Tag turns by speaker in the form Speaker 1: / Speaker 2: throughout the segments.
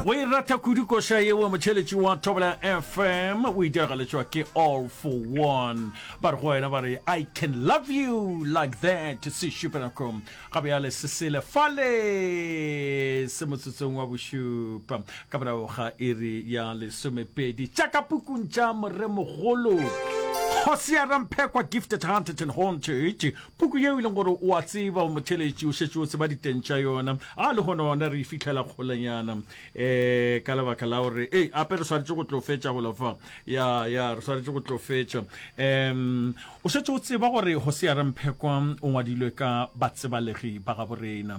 Speaker 1: Go e rata kudu koša yeo motšheletši wa Thobela FM o e diragaletšwa ke All for One. Ba re go wena ba re I can love you like that se šupenako ga bjale se sele fale se motsotsong wa bošupa ka morago ga iri ya lesomepedi tša ka pukung tša moremogolo Hosea Ramphekwa Gifted Hunted and Haunted Puku yeo e leng gore o a tseba, o motheeletši, o šetše o tseba diteng tša yona. A lehono gona re e fihlela kgolenyana um ka lebaka la gore ei ape re swanetše go tlo fetša golo fa. Ya, ya, re swanetše go tlo fetša. Um o šetše o tseba gore Hosea Ramphekwa o ngwadilwe ka batsebalegi ba gabo rena.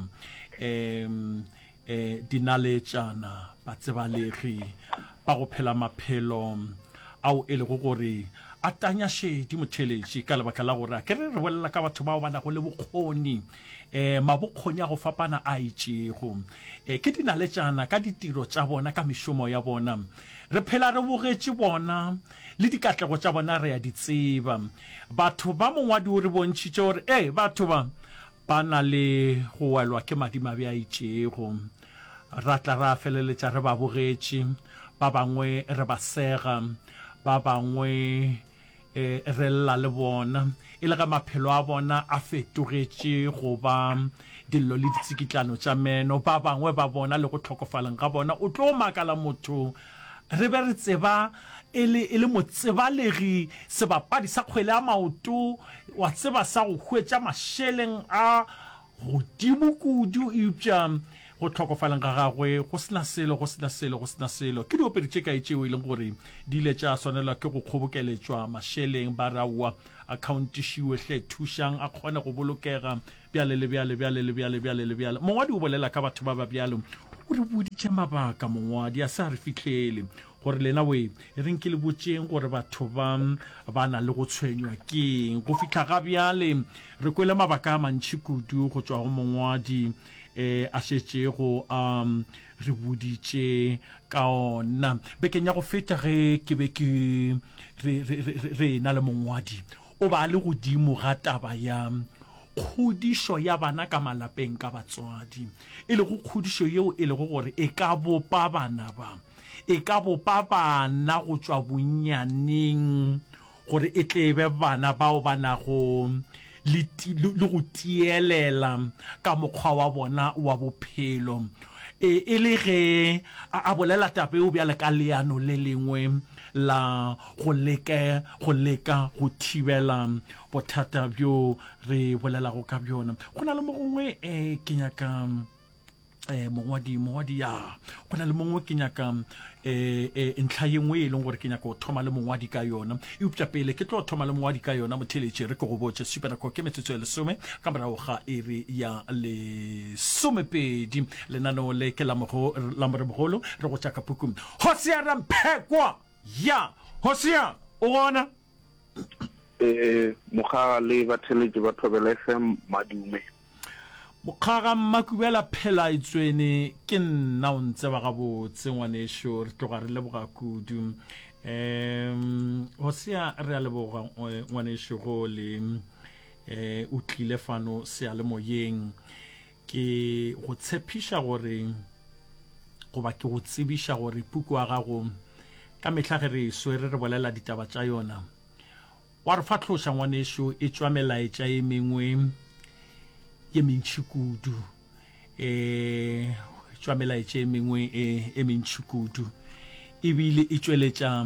Speaker 1: Um E, dinaletšana, batsebalegi ba go phela maphelo ao e lego gore a tanya šedi motheeletši ka lebaka la gore a ke re re bolela ka batho bao ba nago le bokgoni, e, mabokgoni a go fapana a itšego. E, ke dinaletšana ka ditiro tša bona, ka mešomo ya bona. Re phela re bogetše bona le dikatlego tša bona re a di tseba. Batho ba mongwadi o re bontšhitše gore, e, batho ba Ba na le go welwa ke madimabe a itšego. Ra tla ra feleletša re ba bogetše, ba bangwe re ba sega, ba bangwe re lla le bona, e le ge maphelo a bona a fetogetše go ba dillo le ditsikitlano tša meno. Ba bangwe ba bona le go hlokofaleng ga bona, o tlo makala motho re be re tseba e le, e le motsebalegi, sebapadi sa kgwele ya maoto, wa tseba, sa go hwetša mašeleng a godimo kudu, eupša go hlokofaleng ga gagwe go se na selo, go se na selo, go se na selo. Ke diopedi tše kae tšeo e leng gore di ile tša swanelwa ke go kgobokeletšwa mašeleng, ba re, Aowa, akhaontišiwe hle, thušang a kgone go bolokega, Bjale le bjale, bjale le bjale, bjale le bjale. Mongwadi o bolela ka batho ba ba bjalo. O re boditše mabaka, mongwadi, a se a re fihlele. Gore lena we, e reng ke le botšeng gore batho ba ba na le go tshwenywa keng. Go fihla ga bjale, re kwele mabaka a mantši kudu go tšwa go mongwadi e a šetšego a re boditše ka ona. Bekeng ya go feta ge ke be ke re, re, re, re ena le mongwadi, O ba a le godimo ga taba ya kgodišo ya bana ka malapeng ka batswadi, e lego kgodišo yeo e lego gore e ka bopa bana ba, e ka bopa bana go tšwa bonnyaneng gore e tle e be bana bao ba nago le, le go tielela ka mokgwa wa bona wa bophelo. E, e le ge a, a bolela taba yeo bjale ka leano le lengwe la go leke go leka go thibela bothata bjo re bolelago ka bjona. Go na le mo gongwe um ke nyaka um mongwadi mongwadi ya go na le mongwe ke nyaka um ntlha ye nngwe e leng gore ke nyaka go thoma le mongwadi ka yona eupša pele ke tlo thoma le mongwadi ka yona motheletše re ke go botše supanako ke metsotso ya lesome ka morago ga iri ya lesomepedi lenaneo le ke la moremogolo re go tša ka pukung Hosea Ramphekwa! Ya! Hosea, o gona?
Speaker 2: Ee, Mokgaga le batheeletši ba Thobela FM, madume.
Speaker 1: Mokgaga Mmakubela Phelaetswene, ke nna o ntseba gabotse ngwanešo, re tloga re leboga kudu. Um Hosea, re a leboga ngwanešo go le um o tlile fano seyalemoyeng. Ke go tshepiša gore, goba ke go tsebiša gore puku ya gago ka mehla ge re e swere re bolela ditaba tša yona, wa re fahloša ngwanešo, e tšwa melaetša e mengwe ye mentši kudu. E tšwa melaetša e mengwe e, e mentši kudu ebile e tšweletša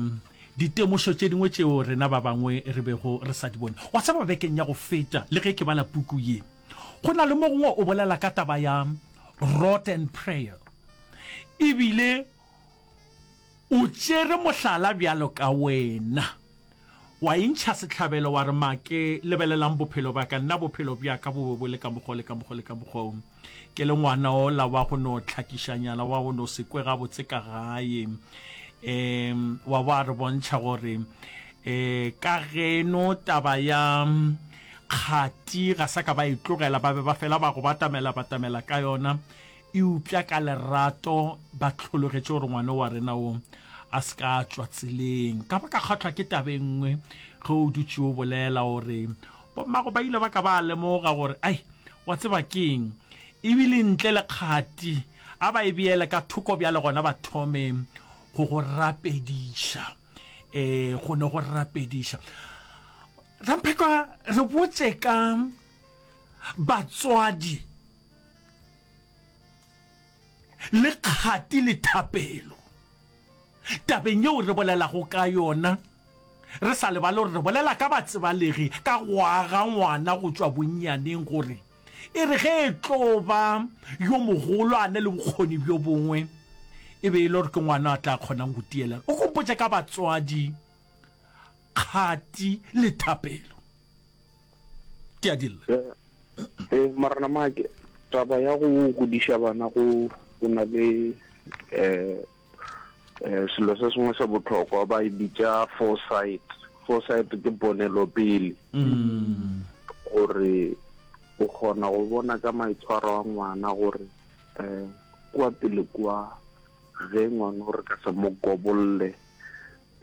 Speaker 1: ditemošo tše dingwe tšeo rena ba bangwe re bego re sa di bone. Wa tseba bekeng ya go feta le ge ke bala puku ye, Go na le mo gongwe o bolela ka taba ya rot and prayer, ebile o tšere mohlala bjalo ka wena, wa intšha sehlabelo wa re, Make, lebelelang bophelo bja ka, nna bophelo bja ka bo be bo le ka mokgwa o le ka mokgwa o le ka mokgwa o. Ke le ngwana ola wa go no hlakišanyana, wa go no se kwe gabotse ka gae. Um wa ba re bontšha gore um ka geno taba ya Kgati ga sa ka ba e tlogela, ba be ba fela ba go batamela batamela ka yona, eupša ka lerato ba hlologetše gore ngwana wa rena wo a se ka a tšwa tseleng. Ka ba ka kgahlwa ke taba e nngwe ge o dutše o bolela gore bommago ba ile ba ka ba lemoga gore ai wa tseba keng, ebile ntle le kgati. A ba e beele ka thoko bjale gona ba thome go go rapediša. E, go ne go rapediša. Ramphekwa, re botše ka batswadi le kgati le thapelo. Tabeng yeo re bolelago ka yona, re sa lebale gore re bolela ka batsebalegi ka go aga ngwana go tšwa bonnyaneng gore e re ge e tlo ba yo mogolo a ne le bokgoni bjo bongwe e be e le gore ke ngwana a tla kgonang go tielela. O kompotše ka batswadi, kgati le thapelo. Ke a dilla.
Speaker 2: Ee, Morena Maake, taba ya go godiša bana go go na le um selo se sengwe se bohlokwa ba e bitša foresight. Foresight ke ponelopele gore o kgona go bona ka maitshwaro a ngwana gore um kua pele kua ge ngwana o re ka se mo kobolle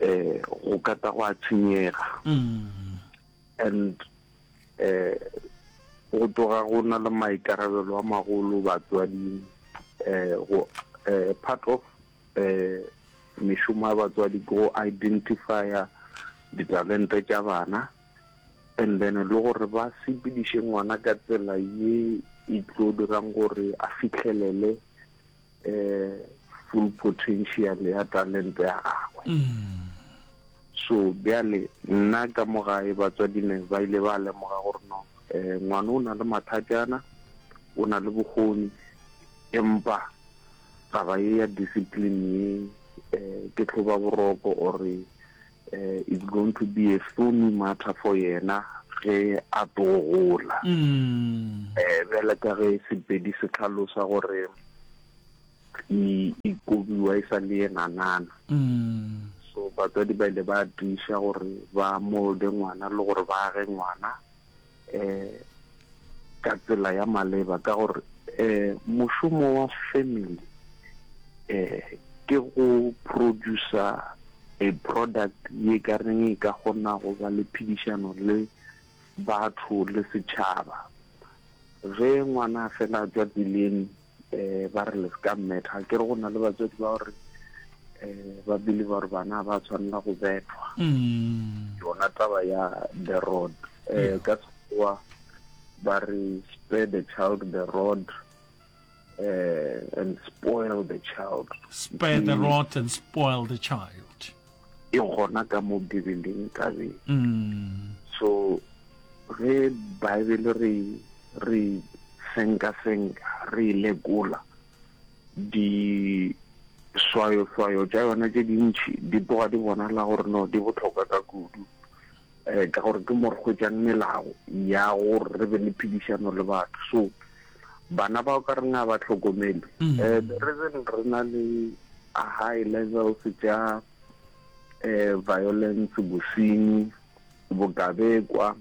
Speaker 2: um go ka tla gwa tshenyega. And um go tloga go na le maikarabelo a magolo batswading um go um part of um mešomo ya batswadi ke go identifya ditalente tša bana and then le gore ba sepediše ngwana ka tsela ye e tlo dirang gore a fihlelele um full potential ya talente ya gagwe. So bjale nna ka mo gae batswadi ne ba ile ba lemoga gore no um ngwana o na le mathatjana, o na le bokgoni, empa taba ye ya discipline ye um ke hloba boroko or um it's going to be a thorny matter for yena ge a tlo gola. Um bjale ka ge Sepedi se hlalosa gore e e kobiwa e sa le ye nanana. So batswadi ba ile ba tiiša gore ba molde ngwana le gore ba age ngwana um ka tsela ya maleba ka gore um mošomo wa family um ke go producer a product ye ka reng e ka kgona go ba le phedišano le batho le setšhaba. Ge ngwana a fela a tšwa tseleng um ba re le se ka mmetha ke re go na le batswadi ba gore um ba believe gore bana ba tshwanela go bethwa mm. yona taba ya the rod um ka sekgowa ba re spare the child the rod uh, and spoil the child
Speaker 1: spare the rod and spoil the child
Speaker 2: E gona ka mo Bibeleng tabeng. So ge Bible re re senka-senka, re e lekola, diswayoswayo tša yona tše dintši di tloga di bonala gore no di bohlokwa ka kudu, um ka gore ke mo re hwetšang melao ya gore re be le phedišano le batho. So bana ba o ka reng a ba hlokomelwe, um the reason re na le high levels tša um violence, bosenyi, bokabekwa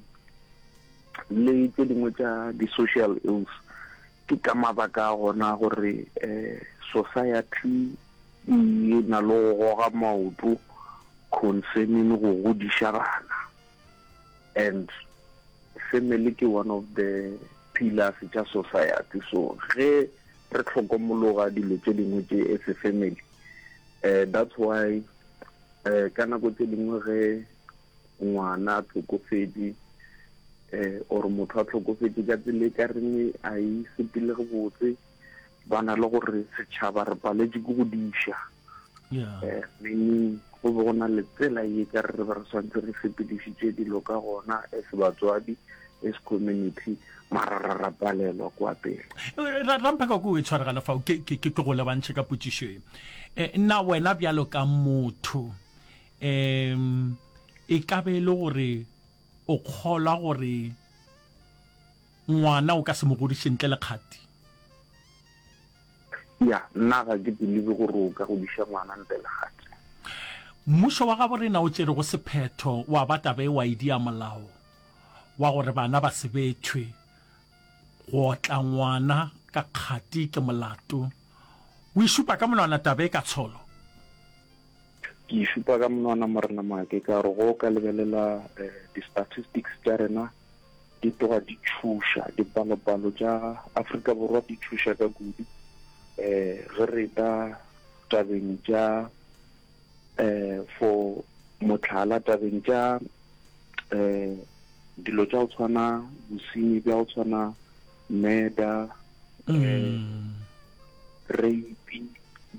Speaker 2: le tše dingwe tša di-social ills ke ka mabaka a gona gore um society e na le go goga maoto concerning go godiša bana and family ke one of the pillars tša society so ge re hlokomologa dilo tše dingwe tše as a family um that's why um ka nako tše dingwe ge ngwana a hlokofetše um or motho a hlokofetše ka tsela e ka reng a e sepele botse ba na le gore setšhaba re paletše ke go diša eh, meaning go be go na le tsela ye ka re be re swantse re sepedišitše dilo ka gona as batswadi as community mara ra ra palelwa kwa pele.
Speaker 1: Ramphaka ko e tshwaregana fao ke ke ke go lebantšhe ka potšišo e. Eh, na wena bjalo ka motho um e ka be e le gore o kgolwa gore Ngwana o ka se mo godiše ntle le kgati.
Speaker 2: Ya, nna ga ke believe gore o ka godiša ngwana ntle le kgati.
Speaker 1: Mmušo wa gabo rena o tšerego sephetho wa ba taba e wa e dia molao wa gore bana ba se bethwe. Go otla ngwana ka kgati ke molato. O e šupa ka monwana taba e ka tsholo?
Speaker 2: Ke e šupa ka monwana Morena Maake ka gore go ka lebelela di-statistics tša rena di tloga di tšhoša, dipalopalo tša Afrika Borwa di tšhoša ka kudu. Um ge re ta tabeng tša um for mohlala tabeng tša um dilo tša go tshwana bosenyi bja go tshwana murder um rape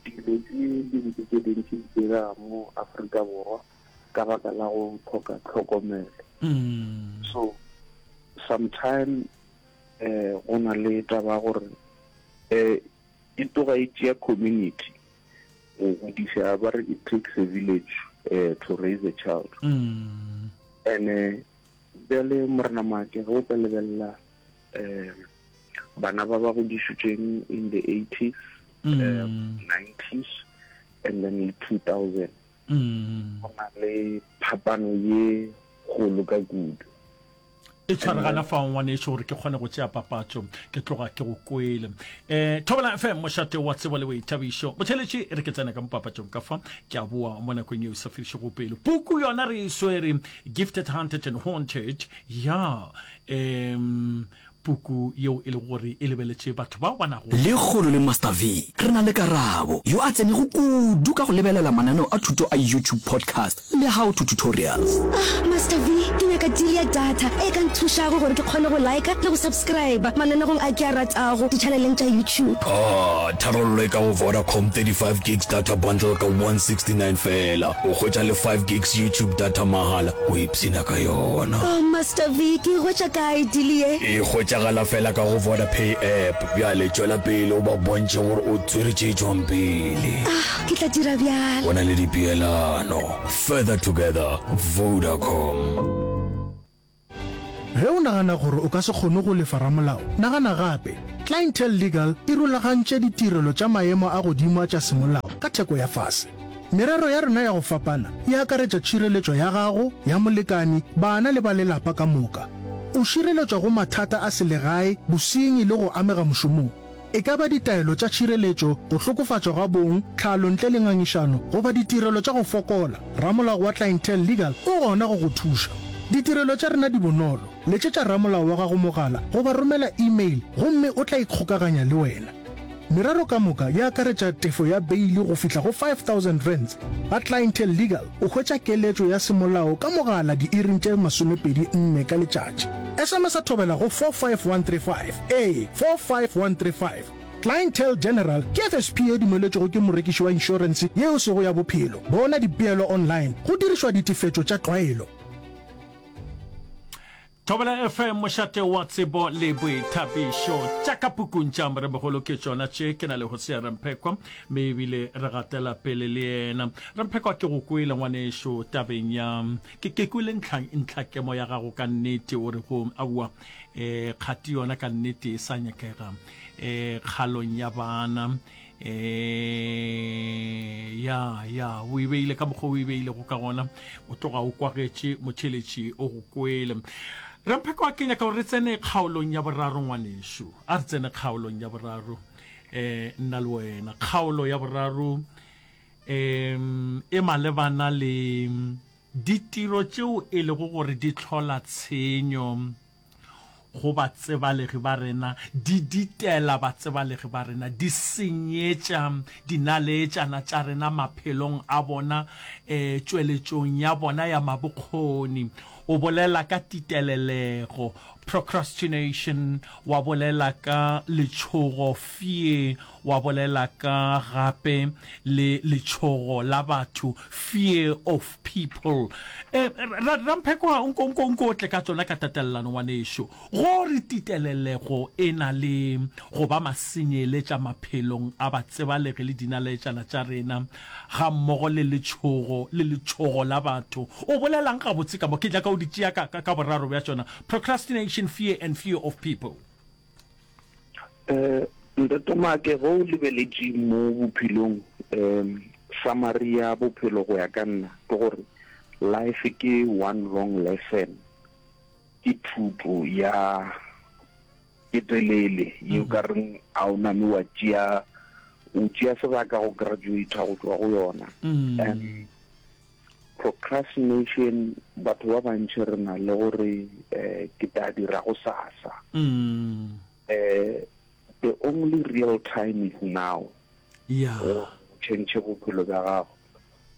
Speaker 2: dilo tše dintsi tše dintsi di direga mo Afrika Borwa ka baka la go hloka tlhokomelo. So sometime um go na le taba ya gore um e tloga e tšea community go godiša ba re it takes a village um to raise a child. And bjale Morena Maake ge o ka lebelela um bana ba ba godišitšweng in the eighties, nineties and then le 2000 go na le phapano ye kgolo ka kudu.
Speaker 1: E tshware gana fao ngwanešu gore ke kgone go tšea papatšo ke tloga ke go kwele. Um Thobela FM mošate wa tsebo le boithabišo. Motheeletši e re ke tsene ka mo papatšong ka fa ke a boa mo nakong yeo e sa fedišego pelo. Puku yona re e swere Gifted Hunted and Haunted ya um puku yeo e lego gore e lebeletše batho bao ba nago.
Speaker 3: Lekgono le Master V re na le Karabo, yo a tsenego kudu ka go lebelela mananeo a thuto a YouTube Podcast le How to Tutorials.
Speaker 4: Ah, Master V, ke nyaka deal ya data e ka nthušago gore ke kgone go liker le go subscriber mananegong a ke a ratago ditšhaneleng tša YouTube.
Speaker 3: Ah, tharollo e ka go Vodacom 35 gigs data bundle ka 169 feela. O hwetša le 5 gigs YouTube data mahala. O ipshina ka yona.
Speaker 4: Oh, Master V, ke e hwetša kae deal ye?
Speaker 3: E hwetšagala fela ka go Vodapay app. Bjale tšwela pele o ba bontšhe gore o tswere tše tšwang pele.
Speaker 4: Ah, ke tla dira bjalo.
Speaker 3: Go na le dipeelano. Further together, Vodacom.
Speaker 5: Ge o nagana gore o ka se kgone go lefa ramolao, nagana gape. Clientele Legal e rulagantše ditirelo tša maemo a godimo a tša semolao ka theko ya fase. Merero ya rena ya go fapana e akaretša tšhireletšo ya gago, ya molekani, bana le ba lelapa ka moka. O šireletšwa go mathata a selegae, bosenyi le go amega mošomong. E ka ba ditaelo tša tšhireletšo, go hlokofatšwa ga bong, tlhalo ntle le ngangišano, goba ditirelo tša go fokola, ramolao wa Clientele Legal o gona go go thuša. Ditirelo tša rena di bonolo, letšetša ramolao wa gago mogala goba romela email gomme o tla ikgokaganya le wena. Merero ka moka e akaretša tefo ya beili go fihla go R5000. Ga Clientele Legal o hwetša keletšo ya semolao ka mogala diiring tše 24 ka letšatši. SMS-a thobela go 45135. Ee, 45135. Clientele General ke FSP ye dumeletšwego ke morekiši wa inšorense ye e sego ya bophelo. Bona dipeelo online go dirišwa ditefetšo tša tlwaelo.
Speaker 1: Thobela FM, mošate wa tsebo le boithabišo. Tša ka pukung tša Moremogolo ke tšona tše. Ke na le Hosea Ramphekwa, mme ebile re gatela pele le yena. Ramphekwa, ke go kwele ngwanešo tabeng ya, ke, ke kwele ntlha, ntlhakemo ya gago ka nnete, o re go, aowa, eh, kgati yona ka nnete e sa nyakega, eh, kgalong ya bana. Eh, ya, ya, o e beile ka mokgwa o e beilego ka gona, o tloga o kwagetše motheeletši o go kwele. Rampheko a ke nyaka gore re tsene kgaolong ya boraro ngwanešu, a re tsene kgaolong ya boraro eh, nna le wena. Kgaolo ya boraro um e malebana le ditiro tšeo e lego gore di hlola tshenyo go batsebalegi ba rena, di ditela batsebalegi ba rena, di senyetša dinaleetšana tša rena maphelong a bona, e, tšweletšong ya bona ya mabokgoni. O bolela ka titelelego, procrastination, wa bolela ka letšhogo, fear, wa bolela ka gape le letšhogo la batho, fear of people. Eh, ra, Ramphekwa, nko, nko, nko o tle ka tšona ka tatelelano, ngwanešo. Go re titelelego e na le go ba masenyeletša maphelong a batsebalegi le dinaleetšana tša rena, gammogo le letšhogo, le letšhogo la batho. O bolelang gabotse ka mo? Ke nyaka o di tšea ka, ka, ka boraro bja tšona, procrastination, fear and fear of people.
Speaker 2: Eh, Ntate Maake, ge o lebeletše mo bophelong, um summary ya bophelo go ya ka nna ke gore life ke one long lesson, ke thuto ya e telele ye o ka reng a o name wa tšea, o tšea sebaka go graduate go tšwa go yona. And procrastination, batho ba bantši re na le gore eh, ke tla dira go sasa. Eh, The only real time is now.
Speaker 1: Yeah.
Speaker 2: Gore o change bophelo bja gago.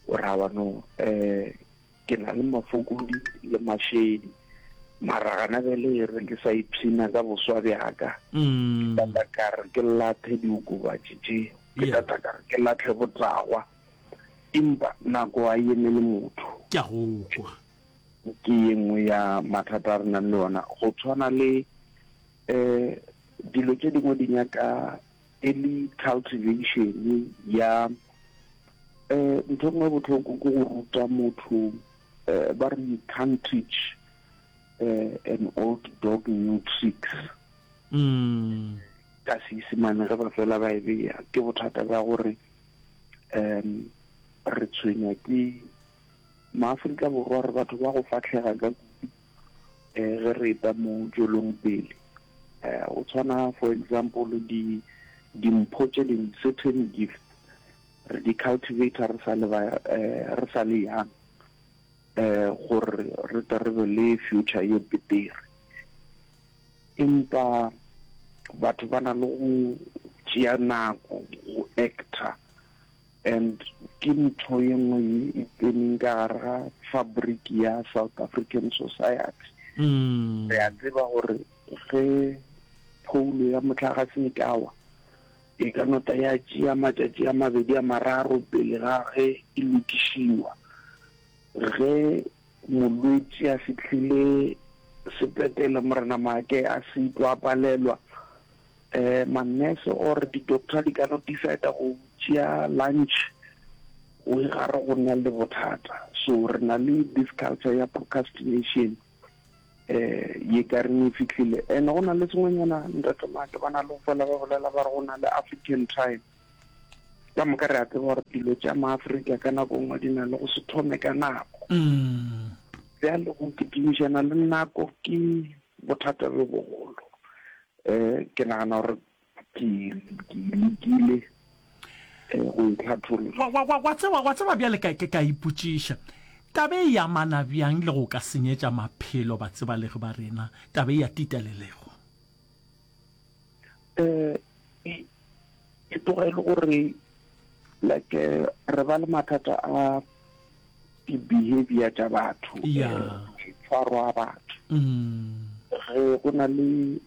Speaker 2: O ra wa no eh ke na le mafokodi le mašedi. Mara gana bjale e re ke sa ipshina ka boswa bjaka.
Speaker 1: Mm.
Speaker 2: Ke tata ka re ke lathe diokobatši tše. Ke
Speaker 1: Yeah.
Speaker 2: tata ka re ke latlhe botagwa. Empa nako a e emele motho.
Speaker 1: Ke a go kwa.
Speaker 2: Ke ye nngwe ya mathata a re nang le ona. Go tshwana le um dilo tše dingwe di nyaka early cultivation ya um ntho e nngwe bohloko ke go ruta motho um ba re you can't teach uh, an old dog new tricks.
Speaker 1: Mm.
Speaker 2: Ka Seisemane ge ba fela ba e bea ke bothata bja gore um re tshwenywa ke Maafrika Borwa re batho ba go fahlega ka kudu um ge re eta mo tšwelong pele. Um go tshwana for example di dimpho tše dingwe certain gifts re di cultivator re sa le ba eh, re sa le young um gore re tle re be le future ye betere. Empa batho ba na le go tšea nako go actor And ke ntho ye nngwe ye e tseneng ka gare ga fabric ya South African society. Re a tseba gore ge phoulo ya mohlagase e ka wa, e ka no tla ya tšea matšatši a mabedi a mararo pele ga ge e lokišiwa. Ge molwetši a fihlile sepetlele, Morena Maake a sitwa a palelwa, Eh, ma-nurse or di-doctor di ka no decide go tšea lunch o e gare go na le bothata. So re na le this culture ya procrastination eh ye ka reng e fihlile. And go na le sengwenyana ntate Maake ba na le go fela ba bolela ba re go na le African time. Ka moka re a tseba gore dilo tša Maafrika ka nako nngwe di na le go se thome ka nako. Bjale go kitimišana le nako ke bothata bjo bogolo. Eh, ke nagana gore ke ke lekile eh, go e hlatholla.
Speaker 1: Wa, wa, wa, wa tseba, wa tseba bjale ka, ka, ka ipotšiša, taba e amana bjang le go ka senyetša maphelo batsebalegi ba rena, taba e ya titelelego?
Speaker 2: Eh, e, e tloga e le gore like eh, re ba le mathata a di-behavior tša batho,
Speaker 1: Ya.
Speaker 2: eh, maitshwaro a batho.
Speaker 1: Mm.
Speaker 2: Ge go na le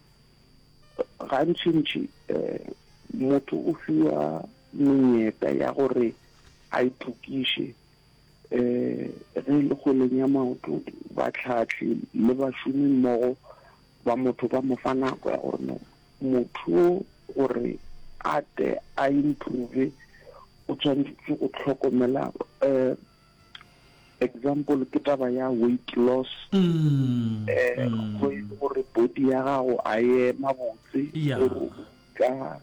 Speaker 2: gantšintši eh, motho o fiwa menyetla ya gore a itokiše eh, ge e le kgweleng ya maoto batlhahli le bašomi mmogo ba motho ba mo fa nako ya gore no motho o gore a tle a improve o tshwanetse go hlokomela um example ke taba ya weight loss
Speaker 1: mm,
Speaker 2: eh
Speaker 1: mm.
Speaker 2: go e le gore body ya gago a e ema botse
Speaker 1: Yeah.
Speaker 2: gore o ka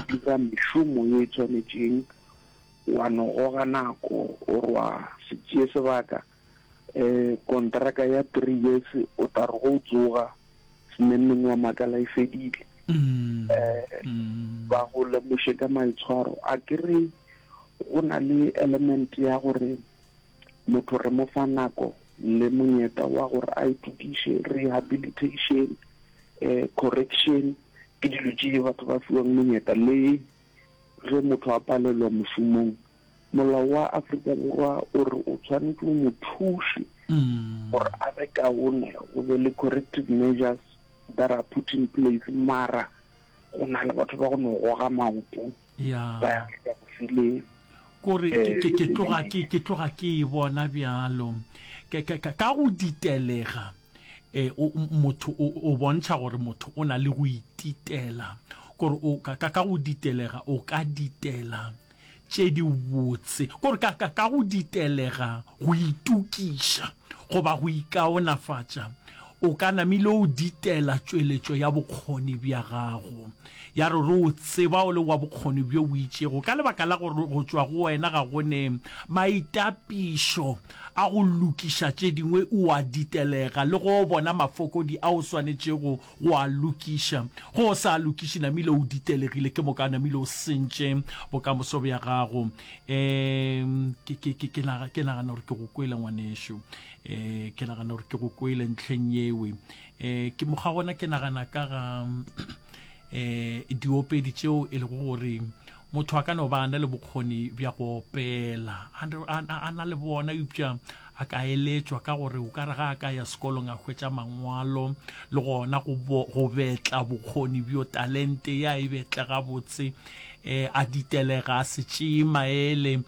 Speaker 2: dira mešomo ye e tshwanetšeng wa no goga nako or wa se tšee sebaka um kontraka ya three years o tla re go tsoga sememmeng wa makala e fedile
Speaker 1: Mm,
Speaker 2: um
Speaker 1: mm.
Speaker 2: ba go lemoše ka maitshwaro a ke re go na le element ya gore motho re mo fa nako le monyetla wa gore a itokiše rehabilitation um correction ke dilo tše batho ba fiwang monyetla le ge motho a palelwa mošomong Molao wa Afrika Borwa o re o tshwanetše o mo thuše gore a be kaone, go be le corrective measures that are put in place, mara go na le batho ba go no goga maoto
Speaker 1: Ya.
Speaker 2: ba ya go file
Speaker 1: Kore ke,
Speaker 2: eh,
Speaker 1: ke, ke tloga ke, ke tloga ke e bona bjalo. Ke, ke, ka, ka go ditelega, eh, o, motho o, o bontšha gore motho o na le go ititela. Kore o, ka, ka, ka go ditelega, o ka ditela tše dibotse, kore ka, ka, ka go ditelega go itokiša goba go ikaonafatša, o ka namile o ditela tšweletšo ya bokgoni bja gago. Ya re re o tseba o le wa bokgoni bjo bo itšego, ka lebaka la gore go tšwa go wena ga go ne maitapišo a go lokiša tše dingwe, o a ditelega le go bona mafokodi a o swanetšego go a lokiša. Ge o sa a lokiše, namile o ditelegile, ke moka namile o sentše bokamoso bja gago. Um ke, ke, ke, ke, naga, ke nagana gore ke go kwele ngwanešu. Um ke nagana gore ke go kwele ntlheng yewe. Um ke mokgwa gona ke nagana ka ga um Um diopedi tšeo e lego gore motho a ka no ba a na le bokgoni bja go opela, a, a, a na le bona, eupša a ka eletšwa ka gore o ka re ga a ka ya sekolong a hwetša mangwalo le gona go, bo, go betla bokgoni bjo talente ya e betle gabotse um a ditelega a se tšee maele.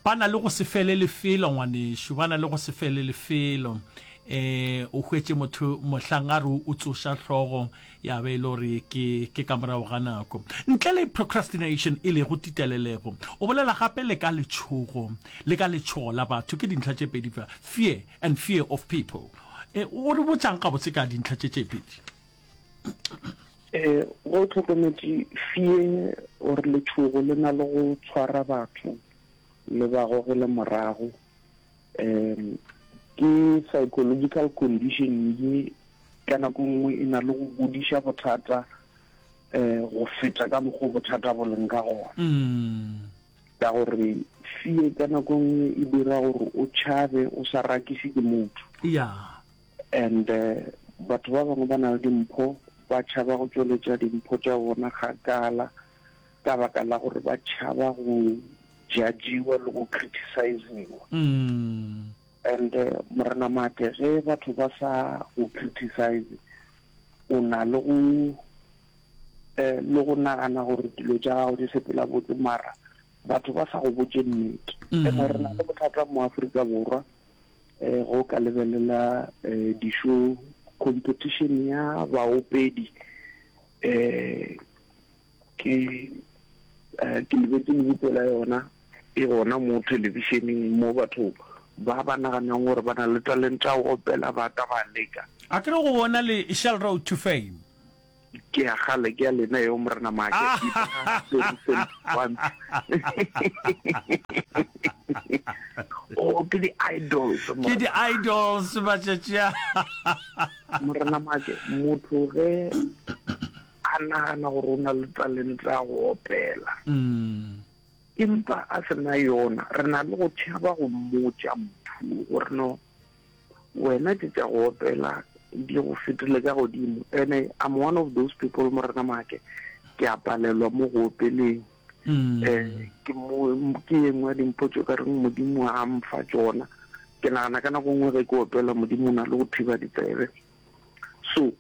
Speaker 1: Ba na le go se fele lefelo ngwanešu, ba na le go se fele lefelo. Um o hwetše motho mohlang a re o tsoša hlogo ya be e le gore ke, ke ka morago ga nako. Ntle le procrastination e lego titelelego, o bolela gape le ka letšhogo, le ka letšhogo la batho. Ke dintlha tše pedi fa, fear and fear of people. E, o re botšang gabotse ka dintlha tše tše pedi?
Speaker 2: E, go hlokometše fear or letšhogo le na le go tshwara batho le ba gogele morago. Um ke psychological condition ye ka nako nngwe e na le go godiša bothata um go feta ka mokgwa bothata bo leng ka gona.
Speaker 1: Mm.
Speaker 2: Ka gore fear ka nako nngwe e dira gore o tšhabe o sa rakise ke motho.
Speaker 1: Yeah.
Speaker 2: And uh, batho ba bangwe ba na le dimpho ba tšhaba go tšweletša dimpho tša bona kgakala ka baka la gore ba tšhaba go judgiwa le go criticiziwa.
Speaker 1: Mm.
Speaker 2: And uh, Morena Maake, ge batho ba sa go criticize, o na le go eh, le go nagana gore dilo tša gago di sepela botse mara batho ba sa go botše nnete. Mm. And re na le bothata mo Afrika Borwa eh go ka lebelela eh, di-show competition ya baopedi eh Ke, eh, ke lebetše lebitso la yona, e gona mo thelebišeneng mo batho ba ba naganang gore ba na le talente ya go opela ba ka ba leka.
Speaker 1: A ke re go bona le Shell Road to Fame.
Speaker 2: Ke ya kgale, ke ya lena eo Morena Maake. The recent ones. Oh, ke di-idols.
Speaker 1: Ke di-idols matšatši a.
Speaker 2: Morena Maake, motho ge a nagana gore o na le talente ya go opela empa a se na yona, re na le go tšhaba go mmotša motho gore no wena tše tša go opela di go fetile ka godimo. Ene I'm one of those people Morena Maake, ke a palelwa mo go opeleng. Um ke mo ke ye nngwe ya dimpho tše o ka reng Modimo a mfa tšona. Ke nagana ka nako nngwe ge ke opela Modimo o na le go thiba ditsebe. So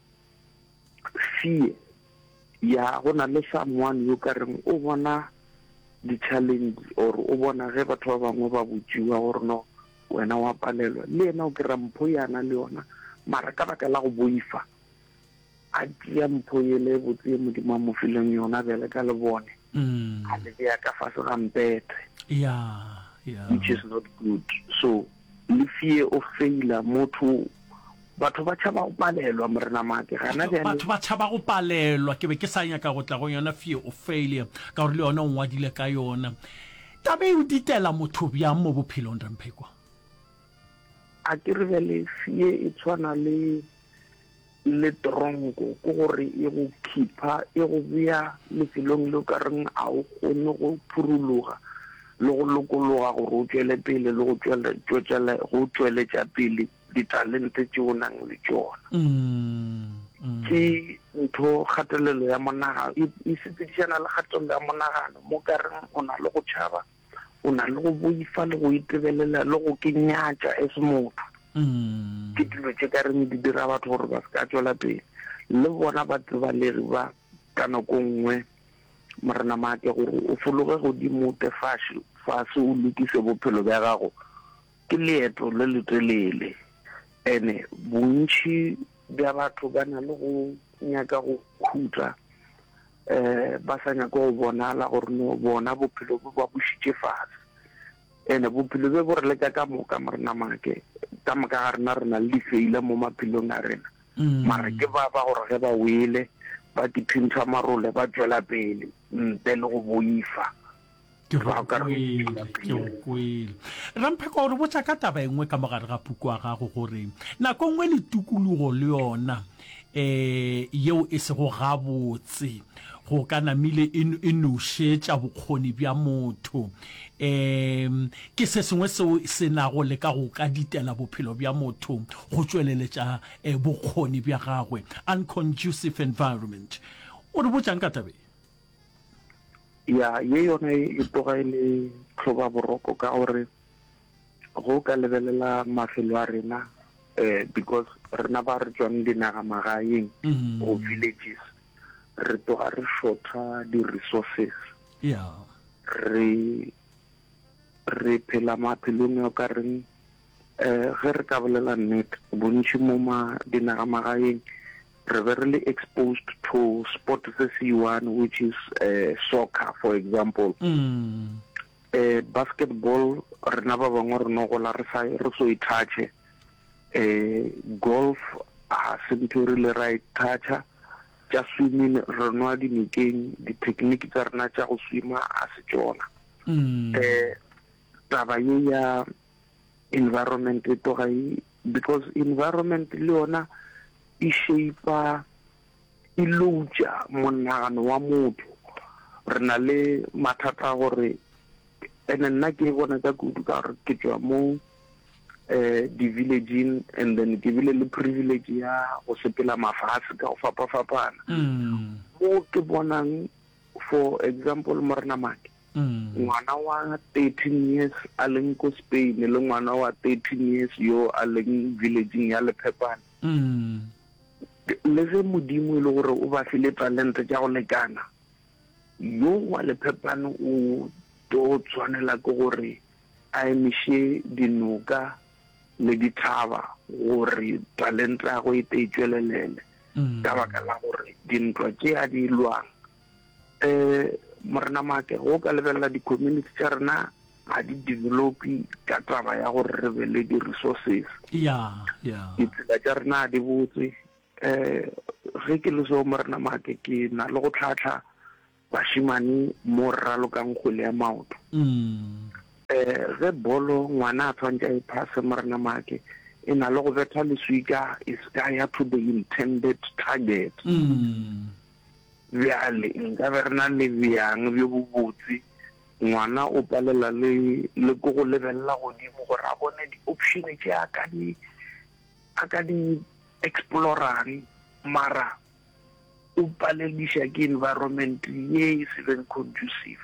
Speaker 2: fear ya go na le someone yo ka reng o bona di-challenge or o bona ge batho ba bangwe ba botšiwa gore no wena wa palelwa le yena o kry-a mpho ya na le yona mara ka baka la go boifa a tšea mpho yele e botse ye modimo a mo fileng yona bjale ka lebone mm. a le bea ka fase ga mpete
Speaker 1: yeah, yeah.
Speaker 2: which is not good so le fear of failure motho Batho ba tšhaba go palelwa, Morena Maake. Gana bjale.
Speaker 1: Batho ba tšhaba go palelwa. Ke be ke sa nyaka go tla go yona fear of failure, ka gore le yona o ngwadile ka yona. Taba e o ditela motho bjang mo bophelong, Ramphekwa?
Speaker 2: A ke re bjale fear e tshwana le le tronko, ke gore e go khipha, e go bea lefelong le o ka reng a o kgone go phurologa le go lokologa gore o tšwele pele le go go tšweletša pele ditalente tše o nang le tšona. Ke ntho kgatelelo ya monagano e, e sepedišana le kgatelelo ya monagano mo ka reng o na le go tšhaba, o na le go boifa le go itebelela le go ke nyatša as motho. Ke dilo tše ka reng di dira batho gore ba se ka tšwela pele. Le bona batsebalegi ba ka nako nngwe Morena Maake gore o fologe godimo o tle fase fase o lokise bophelo bja gago Ke leeto le letelele ene bontši bja batho ba na le go nyaka go khutla um ba sa nyake go bonala gore no bona bophelo bo ba bušitše fase. Ene bophelo bjo bo re leka ka moka Morena Maake, ka moka ga rena re na le difeila mo maphelong a rena. Mara ke ba ba gore ge ba wele ba tiphintšha marole ba tšwela pele ntle le go boifa.
Speaker 1: Ke go kwele, ke go kwele. Rampheko, o re botša ka taba e nngwe ka mo gare ga puku ya gago gore nako e nngwe le tikologo le yona um yeo e sego gabotse go ka namile e, e nošetša bokgoni bja motho. Um ke se sengwe seo se nago le ka go ka ditela bophelo bja motho go tšweleletša eh, bokgoni bja gagwe. Unconducive environment. O re botšang ka taba ye?
Speaker 2: Ya, ye yona e tloga e le tlhobaboroko ka gore go ka lebelela mafelo a rena um because rena ba re tswang dinagamagaeng mm. go villages re tloga re shorta di-resources
Speaker 1: yeah.
Speaker 2: re re phela maphelong a ka reng um ge re ka bolela nnete bontši mo ma dinagamagaeng re be re le exposed to sport se se one which is uh, soccer for example
Speaker 1: mm.
Speaker 2: uh, basketball rena ba bangwe re no gola re sa re so e touche uh, golf ga se ntho re le ra e toucha tša swimming re nwa dinokeng di-technique tsa rena tša go swima a se tšona
Speaker 1: mm.
Speaker 2: eh taba ye ya environment e tloga e because environment le yona e shape e loutša monagano wa motho. Re na le mathata a gore ene nna ke e bona ka kudu ka gore ke tšwa mo eh di-villageng and then ke bile le privilege ya go sepela mafase ka go fapafapana
Speaker 1: mm.
Speaker 2: mo ke bonang for example morena make Ngwana wa 13 years a leng ko Spain le ngwana wa 13 years yo a leng villageng ya Lephepane. Le ge Modimo e le gore o ba file talente tša go lekana, yo wa Lephepane o tlo tshwanela ke gore a emiše dinoka le dithaba gore talente ya gagwe e te e tšwelelele ka baka la gore dintwa tše a di lwang Um Morena Maake, ge o ka lebelela di-community tša rena ga di develope ka taba ya gore re be le di-resources.
Speaker 1: Ya, ya.
Speaker 2: Ditsela tša rena ga di botse. Um ge ke le so Morena Maake, ke na le go tlhahla bašemane mo re ralokang kgwele ya maoto.
Speaker 1: Mm.
Speaker 2: Um ge bolo ngwana a tshwanetse a e phase Morena Maake, e na le go betha leswika e se ka ya to the intended target.
Speaker 1: Mm.
Speaker 2: Bjale, nkabe re na le bjang bjo bobotse, ngwana o palela le, le ke go lebelela godimo gore a bone di-option tše a ka di, a ka di explorang, mara o palediša ke environment ye e se beng conducive.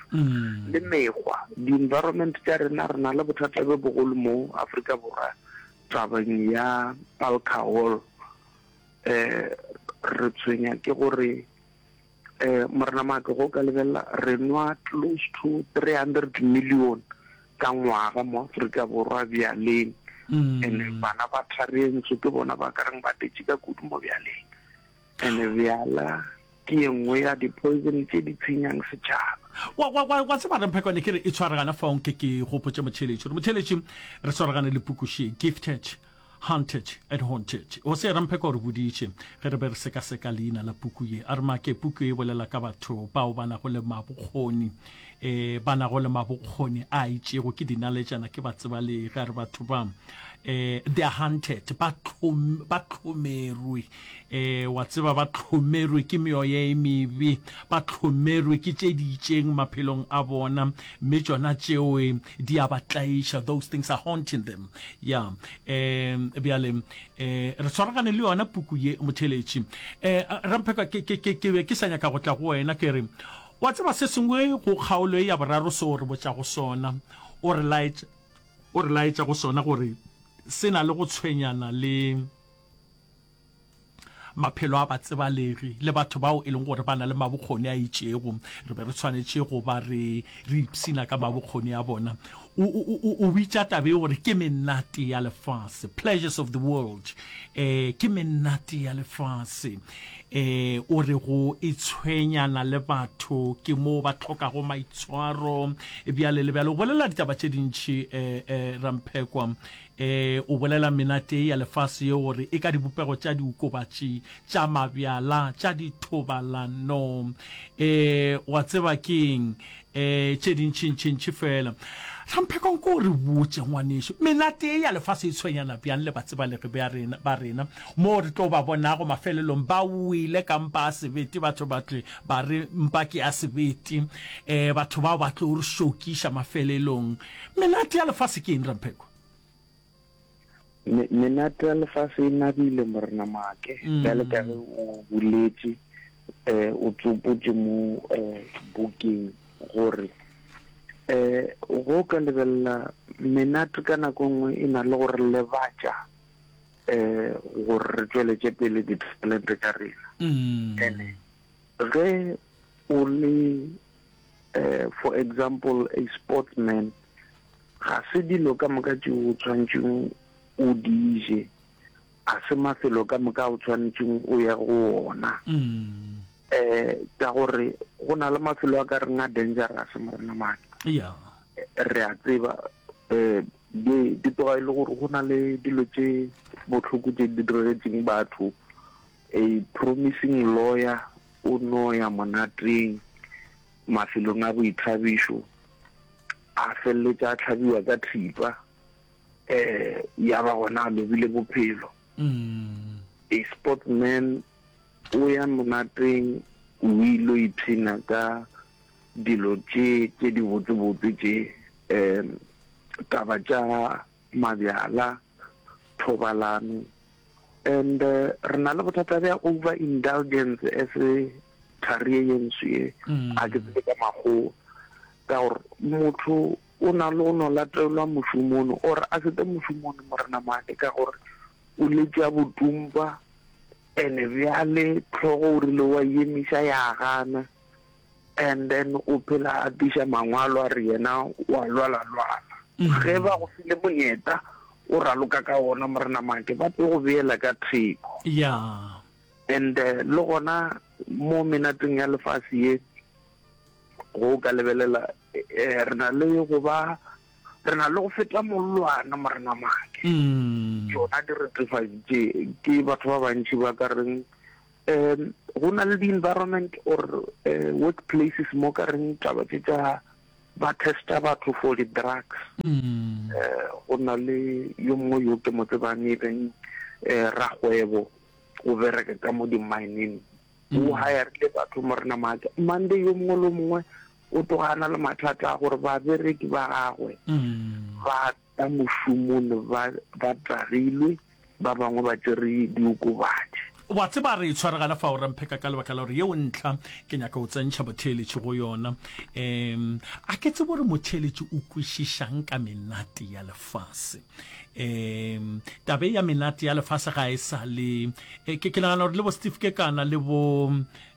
Speaker 2: Le mekgwa, di-environment tša rena, re na le bothata bjo bogolo mo Afrika Borwa tabeng ya alcohol. um re tshwenya ke gore um Morena Maake go ka lebelela re nwa close to 300 million ka ngwaga mo Afrika Borwa bjaleng mm. and bana ba tharentsho ke bona ba ka reng ba tetše ka kudu mo bjaleng and bjala ke ye nngwe ya di-poison tše di tshenyang setšhaba.
Speaker 1: Wa, wa, wa, wa tseba Ramphekwane ke re e tshwaragana fao nke ke gopotše motheeletši gore motheeletši re swaragane le pukuši Gifted Hunted and Haunted. Hosea Ramphekwa o re boditše ge re be re sekaseka leina la puku ye a re make puku e bolela ka batho bao ba nago le mabokgoni eh ba nago le mabokgoni a itšego ke dinaletšana ke batsebalegi a re batho ba eh they are hunted ba tlhom ba tlhomerwe eh wa tseba ba tlhomerwe ke meoya e mebe ba tlhomerwe ke tše di itšeng maphelong a bona mme tšona tšeo di a ba tlaiša those things are haunting them ya um bjale um re tshwaragane le yona puku ye motheletši um rampheka ke ke ke ke be ke sa nyaka go tla go wena ke re wa tseba se sengwe go kgaolo e ya boraro seo re botšago sona o re laetša o re laetša go sona gore se na le go tshwenyana le maphelo a batsebalegi le batho bao e leng gore ba na le mabokgoni a itšego re be re tshwanetše go ba re re ipshina ka mabokgoni a bona o, o, o, o bitša tabe gore ke menate ya lefase pleasures of the world eh ke menate ya lefase eh o re go e tshwenyana le batho ke mo ba tlhokago maitshwaro bjale le bjale o bolela ditaba tše dintši eh, eh, ramphekwa E, o bolela menate ya lefase ye gore e ka dibopego tša diokobatši, tša mabjala, tša dithobalano, e, wa tseba keng, e, tše dintšintšintši fela. Rampheko nko o re botše, ngwanešu, menate ye ya lefase e tshwenyana bjang le batsebalegi bja rena, ba rena, moo re tlo ba bonago mafelelong ba wele ka mpa a sebete, batho ba tle ba re mpa ke ya sebete, e, batho bao ba tlo re šokiša mafelelong. Menate ya lefase ke eng, Rampheko?
Speaker 2: Me, menate ya lefase e nabile, Morena Maake. Mm. Bjale ka ge o boletše, Um o tsopotše mo um bukeng gore um go ka lebelela menate ka nako e nngwe e na le go re lebatša um gore re tšweletše pele ditalente tša rena. Ene ge o le um for example a sportsman ga se dilo ka moka tšeo o tshwanetšeng o di je A se mafelo ka moka a o tshwanetšeng o ye go ona. Um ka gore go na le mafelo a ka reng a dangerous, Morena Maake.
Speaker 1: Yeah.
Speaker 2: Re a tseba um di di tloga e le gore go na le dilo tše bohloko tše di diregetseng batho. A promising lawyer o no ya monateng mafelong a boithabišo a feleletša a hlabiwa ka thipa. eh ya ba gona a lobile bophelo
Speaker 1: mm.
Speaker 2: a sportsman o ya monateng o ile ipshina ka dilo tše tše di botsebotse tše um taba tša mabjala thobalano and uh, re na le bothata bja over indulgence as a thari ye ntsho ye
Speaker 1: mm.
Speaker 2: a ke tsebe ka makgowa ka gore motho O na le go no latelwa mošomong or a se tle mošomong Morena Maake ka gore o letše a botumpa and bjale hlogo o rile wa e emiša ya gana and then o phela a tiša mangwalo a re yena wa lwala lwala. Ge ba go file monyetla o raloka ka ona Morena Maake ba tlo go beela ka theko.
Speaker 1: Yeah.
Speaker 2: And le gona mo menateng ya lefase ye Go ka lebelela, eh, re na le go ba, re na le go feta mollwana, Morena Make.
Speaker 1: Mm.
Speaker 2: Tšona diretefatši tše ke batho ba bantši ba ka reng um go na le di-environment or uh, work places mo ka reng taba tše tša ba testa batho for di-drugs.
Speaker 1: Mm.
Speaker 2: Eh, go na le yo mongwe yo ke mo tsebang e leng eh, rakgwebo o bereka ka mo di-mineng O hirile batho, Morena Maake. Monday yo mongwe le yo mongwe o tloga a na le mathata a gore babereki ba gagwe ba tla mošomong ba ba tagilwe, ba bangwe ba tšere diokobatši.
Speaker 1: Wa tseba, re tshwaregana fao, Rampheka, ka lebaka la gore yeo ntlha ke nyaka go tsentšha motheeletši go yona. Um, a ke tsebe gore motheeletši o kwešišang ka menate ya lefase. Um, taba e ya menate ya lefase ga e sa le eh, ke, ke nagana gore le bo Steve Kekana le bo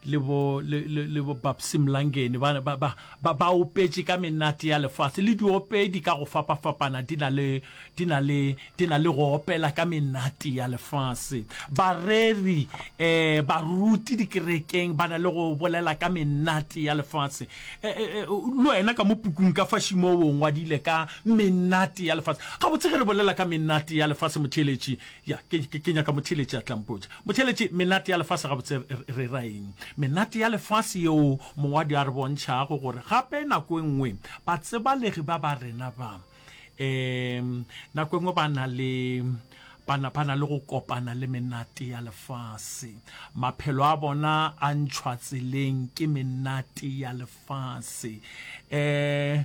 Speaker 1: le bo le, le, le bo Babsy Mlangeni ba, ba, ba, ba, ba opetše ka menate ya lefase le diopedi ka go fapafapana di na le di na le di na le go opela ka menate ya lefase bareri eh baruti dikerekeng ba na le go bolela ka menate ya lefase eh, eh, eh le wena ka mo pukung ka fa šimo o ngwadile ka menate ya lefase gabotse ge re bolela ka menate ya lefase motheeletši Ya, ke, ke, ke nyaka motheeletši a tla mpotša. Motheeletši, menate ya lefase gabotse re, re ra eng? Menate ya lefase yeo mongwadi a re bontšhago gore gape nako e nngwe batsebalegi ba ba rena ba, um nako e nngwe ba na le, ba na, ba na le go kopana le menate ya lefase. Maphelo a bona a ntšhwa tseleng ke menate ya lefase. Um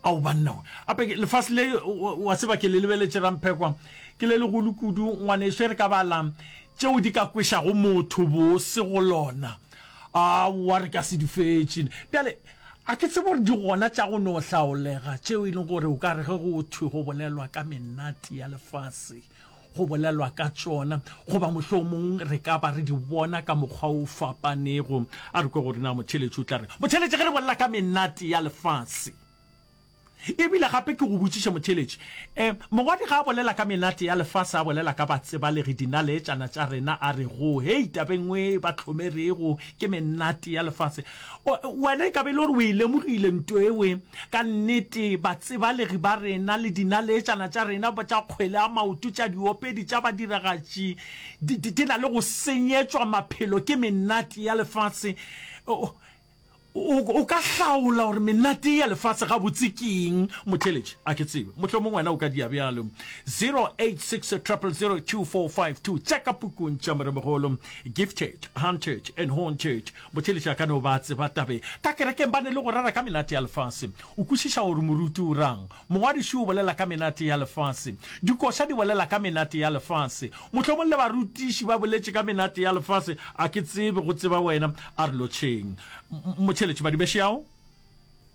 Speaker 1: Ao banna we. Ape ke lefase le wa tseba ke le lebeletše Ramphekwa ke le legolo kudu ngwaneso e re ka bala tšeo di ka kwešago motho bose go lona aowa re ka se di fetše. Bjale a ke tsebe gore di gona tša go no hlaolega tšeo e leng gore o ka re ge go thwe go bolelwa ka menate ya lefase go bolelwa ka tšona goba mohlomong re ka ba re di bona ka mokgwa o fapanego. A re kwe gore na motheeletši o tla reng. Motheeletši, ge re bolela ka menate ya lefase, e bile gape ke go botšiše motheeletši, um mongwadi ga a bolela ka menate ya lefase a bolela ka batsebalegi dinaleetšana tša rena a re go hei tabeng e ba hlomerego ke menate ya lefase. Wena e ka be e le gore o e lemogile nto ewe. Ka nnete, batsebalegi ba rena le dinaleetšana tša rena tša kgwele ya maoto, tša diopedi, tša badiragatši, di, di, di na le go senyetšwa maphelo ke menate ya lefase. O, o ka hlaola gore menate ya lefase gabotse ke eng, motheeletši? A ke tsebe. Mohlomong wena o ka dia bjalo. 086 000 2452 Tša ka pukung tša Moremogolo, Gifted, Hunted and Haunted. Motheeletši a ka no ba a tseba tabe. Ka kerekeng ba ne le go rera ka menate ya lefase. O kwešiša gore moruti o rang. Mongwadiši o bolela ka menate ya lefase. Dikoša di bolela ka menate ya lefase. Mohlomong le barutiši ba boletše ka menate ya lefase. A ke tsebe, go tseba wena. A re lotšheng. Motšheletši, Badibešeao.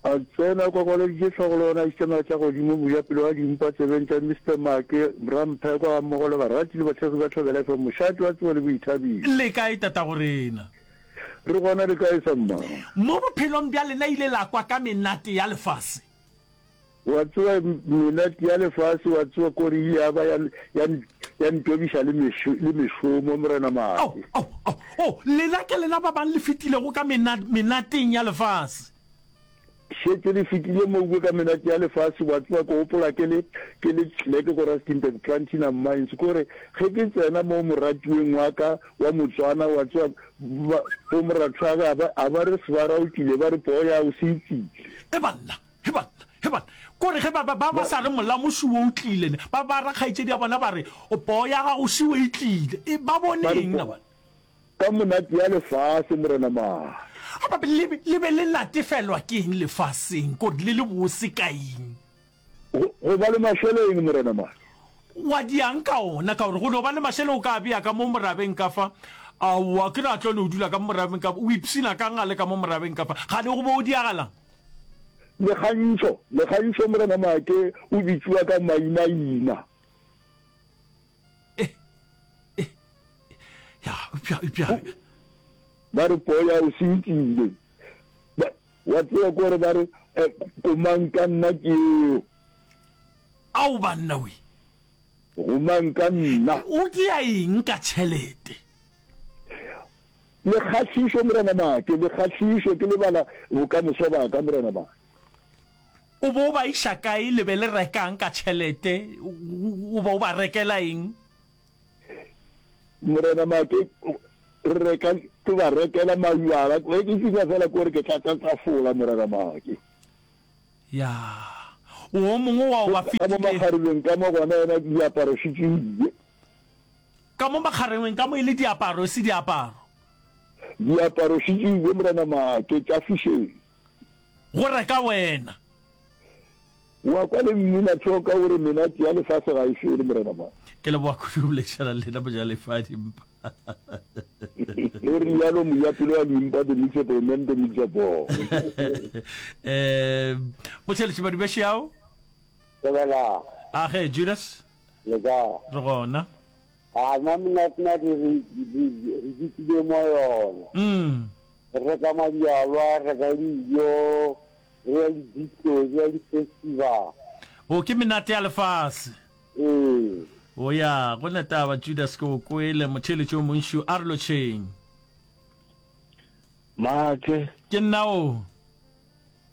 Speaker 6: A tsena kwakwaleditše hlogo le gona a išitše magetla godimo, mojapelo wa dimpa tsebeng tša Mister Make, Ramphekwa gammogo le barati le bathekgi ba Thobela FM, mošate wa tsebo le boithabišo.
Speaker 1: Le kae tatagorena?
Speaker 6: Re gona le kae samma?
Speaker 1: Mo bophelong bja lena ile la kwa ka menate ya lefase?
Speaker 6: Wa tseba menate ya lefase, wa tseba kore ile ya ba ya, ya, ya ntobiša le mešo, le mešomo, Morena Maake.
Speaker 1: Oh, oh, oh, oh, lena ke lena ba bang le fetilego ka mena, menateng ya lefase.
Speaker 6: Šetše le fetile mo ka menate ya lefase, wa tseba, ke gopola ke le, ke le clerk ko Rustenburg Platinum Mines, kore ge ke tsena mo moratiweng wa ka wa Motswana, wa tseba, ba, bo morathoage a ba, a ba re sebara o tlile, ba re poo ya o se e tlile.
Speaker 1: E banna, He banna, he banna, kore ge ba, ba, ba, ba sa re molamo šiwo o tlile, ne, ba, ba ra kgaetšedi ya bona ba re, O, poo ya gago šiwo e tlile. E, ba bone
Speaker 6: Ba re,
Speaker 1: eng na bana?
Speaker 6: Ka monate ya lefase, Morena Maake.
Speaker 1: A ba, le be, le be le natefelwa ke eng lefaseng, kore le le bose ka eng?
Speaker 6: Go, go ba le mašeleng, Morena Maake.
Speaker 1: Wa diang ka ona, ka gore go no ba le mašeleng o ka a bea ka mo morabeng ka fa. Aowa, ke re a tlo no dula ka mo morabeng ka fa, o ipshina ka'ng a le ka mo morabeng ka fa? Gane go bo o diagalang?
Speaker 6: Lekgantšho, Lekgantšho Morena Maake o bitšiwa ka mainaina.
Speaker 1: Eh, eh, ya, eupša, eupša.
Speaker 6: Ba re poya o sentile. Ba, wa tseba kore ba re, eh, komang ka nna ke eo.
Speaker 1: Ao banna we.
Speaker 6: Gomang ka nna.
Speaker 1: O dia eng ka tšhelete?
Speaker 6: Le kgahlišo, Morena Make, le kgahlišo, ke lebala bokamoso ba ka, Morena Make.
Speaker 1: O bo o ba iša kae, le be le rekang ka tšhelete, o ba o ba rekela eng?
Speaker 6: Morena Make, re reka, ke ba rekela majwala, ge ke fihla fela ko re ke tlatša tafola, Morena Make.
Speaker 1: Ya, o mongwe wa o ba
Speaker 6: Ka mo
Speaker 1: fetile.
Speaker 6: makgarebeng ka mo gona yena diaparo šitšile.
Speaker 1: Ka mo makgarengweng ka mo e le diaparo, e se diaparo.
Speaker 6: Diaparo šitšile, Morena Maake, tša fišeng.
Speaker 1: Go reka wena.
Speaker 6: Wa kwa le mmina thoka o re menate ya lefase ga e fele, Morena Maake.
Speaker 1: Ke leboga kudu go boledišana le lena Mojalefa a Dimpa.
Speaker 6: O rialo mojapelo wa dimpa, the mixer boy, man the mixer boy.
Speaker 1: Um, Motheletši Badubešeao.
Speaker 7: Thobela.
Speaker 1: Age, Judas.
Speaker 7: Le kae?
Speaker 1: Re gona.
Speaker 7: A nna monate-nate re re fetile mo yona.
Speaker 1: Mm.
Speaker 7: Re reka mabjalwa, re reka dijo, re ya di-disco, re ya di-festival.
Speaker 1: O ke menate ya lefase.
Speaker 7: Ee.
Speaker 1: O ya, go na taba Judas ke o kwele, motheeletši o montši, a re lotšheng.
Speaker 2: Maake.
Speaker 1: Ke nna o.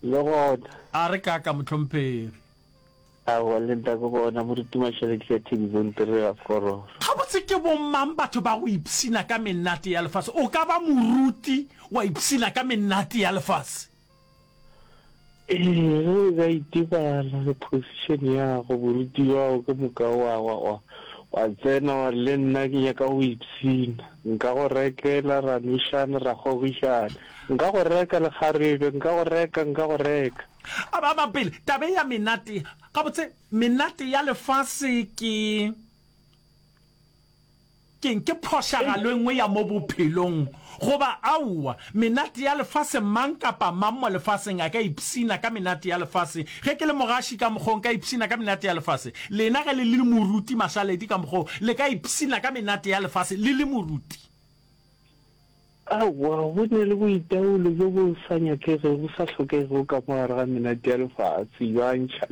Speaker 2: Le gona.
Speaker 1: A re kaka, mohlomphegi.
Speaker 2: Aowa, le nna ke bona, Moruti Mašaledi ka Thenibonte re a korora.
Speaker 1: Gabotse ke bomang batho ba go ipshina ka menate ya lefase? O ka ba moruti wa ipshina ka menate ya lefase?
Speaker 2: Ee, ge o ka itebala le position ya gago, boruti bja gago ke moka wa, wa, wa, wa tsena wa re le nna ke nyaka go ipshina. Nka go rekela, ra nwešana, ra kgogišana. Nka go reka lekgarebe, nka go reka, nka go reka.
Speaker 1: A ba ba pele, taba ya menate, gabotse, menate ya lefase ke, ke'ng? Ke phošagalo e nngwe ya mo bophelong, goba aowa? Menate ya lefase, mang kapa mang mo lefaseng a ka ipshina ka menate ya lefase. Ge ke le mogaši ka mokgo, nka ipshina ka menate ya lefase. Lena ge le le moruti mašaledi ka mokgo, le ka ipshina ka menate ya lefase le le moruti.
Speaker 2: Aowa, go ne le boitaolo bjo bo sa nyakegego, bo sa hlokegego ka mo gare ga menate ya lefase, bja ntšha,